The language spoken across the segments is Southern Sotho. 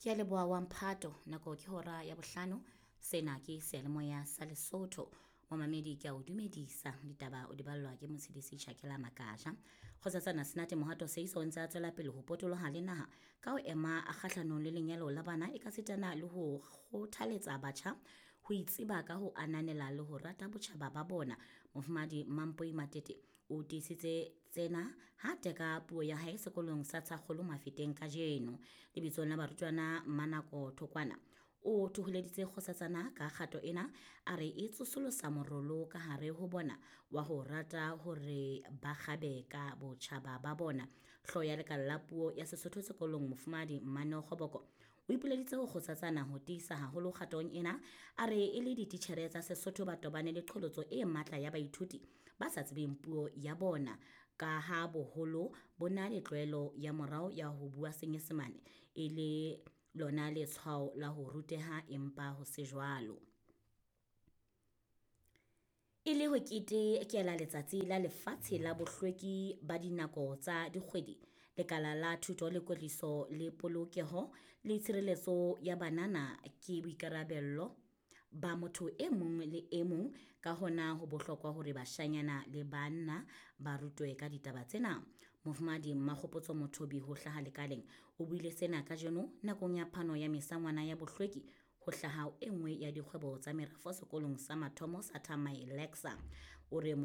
Ke a leboha wa mphato, nako ke hora ya bohlano. Sena ke seyalemoya sa Lesotho. Momamedi ke a o dumedisa. Ditaba o di ballwa ke Motshedisi Chakela Makaja. Kgosatsana Senate Mohato Seiso o ntse a tswela pele ho potoloha le naha ka ho ema kgahlanong le lenyalo la bana e ka sitana le ho kgothaletsa batjha ho itseba ka ho ananela le ho rata botjhaba ba bona. Mofumahadi Mampoi Matete o tiisitse tsena ha teka puo ya hae sekolong sa Tshakgolo Mafeteng kajeno. Lebitsong la barutwana Mmanako Thokwana o thoholeditse kgosatsana ka kgato ena a re e tsosolosa morolo ka hare ho bona wa ho rata hore ba kgabe ka botjhaba ba bona. Hlooho ya lekala la puo ya Sesotho sekolong Mofumahadi Mmaneo Kgoboko o ipoleditse ho kgotsatsana ho tiisa haholo kgatong ena a re e le dititjhere tsa Sesotho ba tobane le qholotso e matla ya baithuti ba sa tsebeng puo ya bona ka ha boholo bo na le tlwaelo ya morao ya ho bua Senyesemane e le lona letshwao la ho ruteha empa ho se jwalo. E le ho ketekela letsatsi la lefatshe la bohlweki ba dinako tsa dikgwedi, lekala la thuto le kwetliso le polokeho le tshireletso ya banana ke boikarabello ba motho e mong le e mong ka hona ho bohlokwa hore bashanyana le banna ba rutwe ka ditaba tsena. Mofumahadi Mmakgopotso Mothobi ho hlaha lekaleng o buile sena kajeno nakong ya phano ya mesangwana ya bohlweki ho hlaha e nngwe ya dikgwebo tsa merafo sekolong sa mathomo sa Thamae Lexa. O re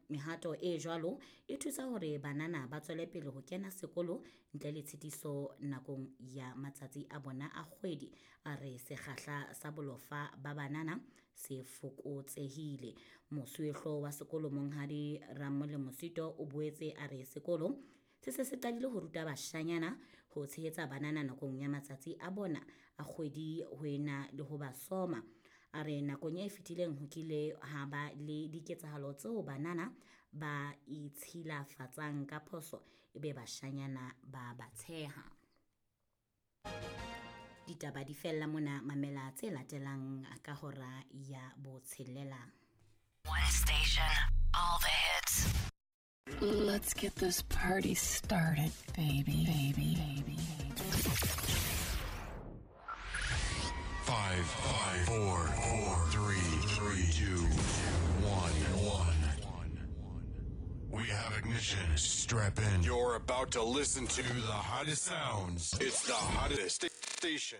mehato e jwalo e thusa hore banana ba tswele pele ho kena sekolo ntle le tshitiso nakong ya matsatsi a bona a kgwedi. A re sekgahla sa bolofa ba banana se fokotsehile. Mosuwehlooho wa sekolo Monghadi Ramolemo Sito o boetse a re sekolo se se se qadile ho ruta bashanyana ho tshehetsa banana nakong ya matsatsi a bona a kgwedi ho ena le ho ba soma. A re nakong e fetileng ho kile ha ba le diketsahalo tseo banana ba itshilafatsang ka phoso ebe bashanyana ba ba tsheha. Ditaba di fella mona, mamela tse latelang ka hora ya botshelela. One station, all the hits. Let's get this party started, baby, baby, baby. 5, 5, 4, 4, 3, 3, 2, 1, 1. We have ignition. Strap in. You're about to listen to the hottest sounds. It's the hottest station.